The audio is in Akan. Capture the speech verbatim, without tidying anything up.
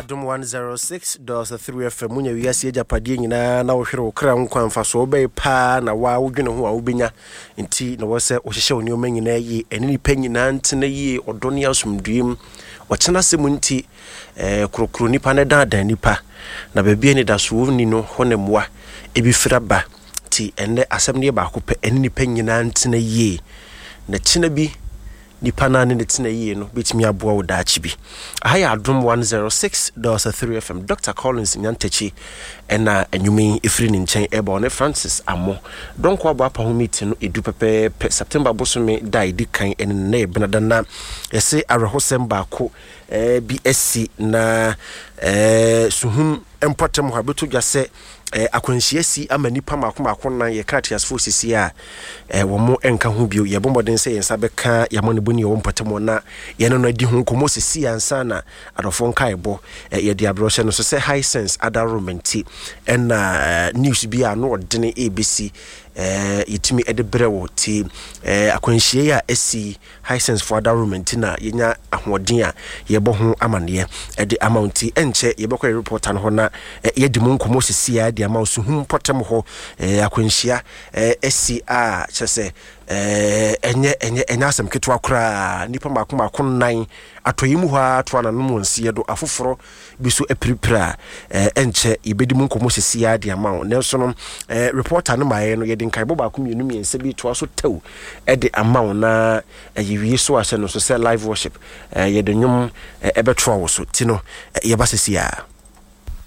Adom one zero six point three F M. Munya wiase agyapadeɛ nyinaa na wohwere wo kra nkwa, mfasoɔ wobɛyɛ paa na waa wodwene ho a wobɛnya? Nti na wɔ sɛ wohyehyɛ wo nneɔma nyinaa yie, ɛne nipa nyinaa ntena yie, ɔdɔ ne asomdue. Ɔkyena sɛm nti eh, korokoro nipa ne daadaa nipa na baabi a anidasoɔ ni no hɔ ne mmoa ebi fira ba. Nti ɛnnɛ asɛm no yɛ baako pɛ: ɛne nipa nyinaa ntena yie, na kyena bi nipa naa ne ne tena yie no bɛtumi aboa wo daakye bi. Aha yɛ Adom one zero six point three F M. Doctor Collins Nyantakyi ɛna anwuma yi ɛfiri ne nkyɛn ɛba, ɔne Francis Amo dɔnko abɔ apa ho. Meeting no ɛdu pɛpɛɛpɛ September bosome da a ɛdi kan, ɛne nnɛ yɛ benada, na yɛse awerɛhosɛm baako ɛɛ bi asi na ɛɛ Suhum mpɔtam hɔ abɛtɔ dwa sɛ ɛɛ akwanhyia si ama nipa mako mako nan. Yɛka ateasefoɔ sisi a ɛɛ wɔn nka ho bio. Yɛbɔ mmɔden sɛ yɛn nsa bɛka yɛamɔ ne bɔni ɛwɔ mpɔtam hɔ na yɛne no adi ho nkɔmmɔ sisi ansa na adɔfoɔ nkaebɔ. ɛɛ yɛde aberɛhyɛ no so sɛ Hisense adaroma nti ɛna ɛɛ news bi a no ɔdene ɛrebɛsi ɛɛ yɛtumi ɛde brɛ wɔ ti ɛɛ akwanhyia yi a ɛsi. Hisense fo adaroma nti na yɛnya ahoɔden a yɛbɔ ho amanneɛ ɛde ama wo. Nti ɛnkyɛ yɛbɛkɔ yɛ reporter no hɔ na yɛdi mu nkɔmmɔ sisi a de ama wo. Suhum mpɔtam hɔ akwanhyia ɛsi a kyerɛ sɛ ɛnyɛ ɛnyɛ ɛnyɛ asɛm ketewa koraa. Nipa mako mako nan atɔyi mu hɔ a ato ananom wɔn nseɛ do, afoforɔ bi so apirapira a ɛnkyɛ yɛbɛdi mu nkɔmmɔ sisi a de ama wo. Nanso no, reporter no maayɛ no, yɛde nkaebɔ baako, mmienu, mmiɛnsa bi toa so tɛw ɛde ama wo na ɛyɛ wie so ahyɛ no so sɛ live worship, yɛde nnwom ɛbɛtoa wo so. Ti no yɛba sisi a.